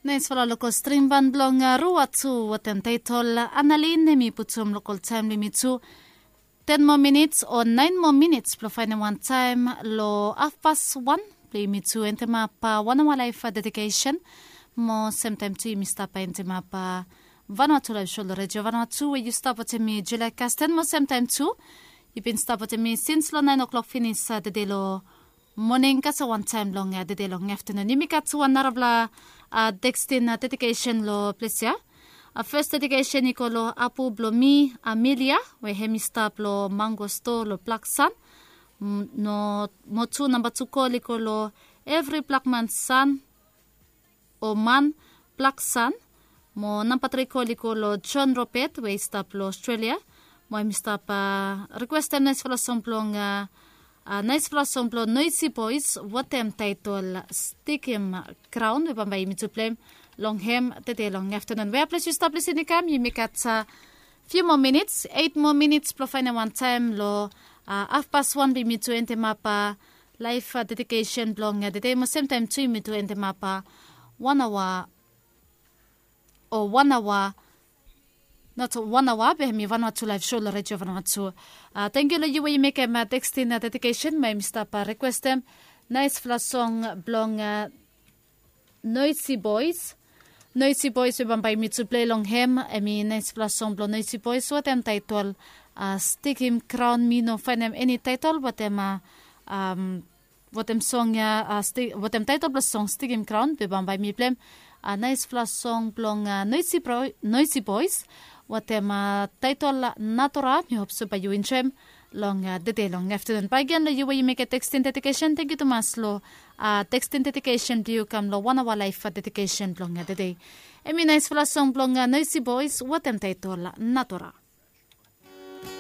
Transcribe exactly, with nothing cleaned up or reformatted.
Naisfala lokol string ban blong rua tu watem taitol analin em i putum lokol taem blong yumi tu ten moa minits o naen moa minits blong faenem wan taem long afpas wan blong yumi tu endemap wan aoa laef dedikesen. Mo semtaem tu yumi stap endemap vanua tu laef sho long redio vanua tu we yu stap watem mi julai kasten mo semtaem tu yu bin stap watem mi sins long naen oklok finis tede long moning kasem wantaem long tede long aftanun. Yumi gat wan narafala tekstin dedikesen long ples ya. Fes dedikesen i go long apu blong mi, Amelia, we hem i stap long mango stoa long Blaksan. Mo tu namba tu kol i go long evri blakman san o man Blaksan. Mo namba tri kol i go long John Robert we i stap long Australia. Mo hem i stap rikwestem naesfala song blong naesfala song blong Noisy Boys watem taetol Stikim Graon we bambae yumi tu pleim long hem tede long aftanun. Wea ples yu stap lisin i kam yumi gat fiu moa minits, eit moa minits blong faenem wantaem long afpas wan blong yumi tu endemap laef dedikesen blong tede mo semtaem tu yumi tu endemap wan aoa o wan aoa, not wan aoa be hem i vanua tu laef sho long redio vanua tu. Tangkiu long yu we yu mekem tekstin dedikesen mo hem i stap rikwestem naesfala song blong Noisy Boys. Noisy Boys we bambae yumi tu plei long hem hem i naesfala song blong Noisy Boys watem taetol Stikim Graon. Mi no faenem eni taetol watem watem song ya, watem taetol blong song Stikim Graon be bambae mi pleim naesfala song blong Noisy Boys watem taetol Natura. Mi hop se bae yu enjoem long tede long aftanun. Bae gen long yu we yu mekem tekstin dedikesen, tangkiu tumas long tekstin dedikesen blong yu kam long wan aoa laef dedikesen blong tede. Hem i naesfala song blong Noisy Boys watem taetol Natura.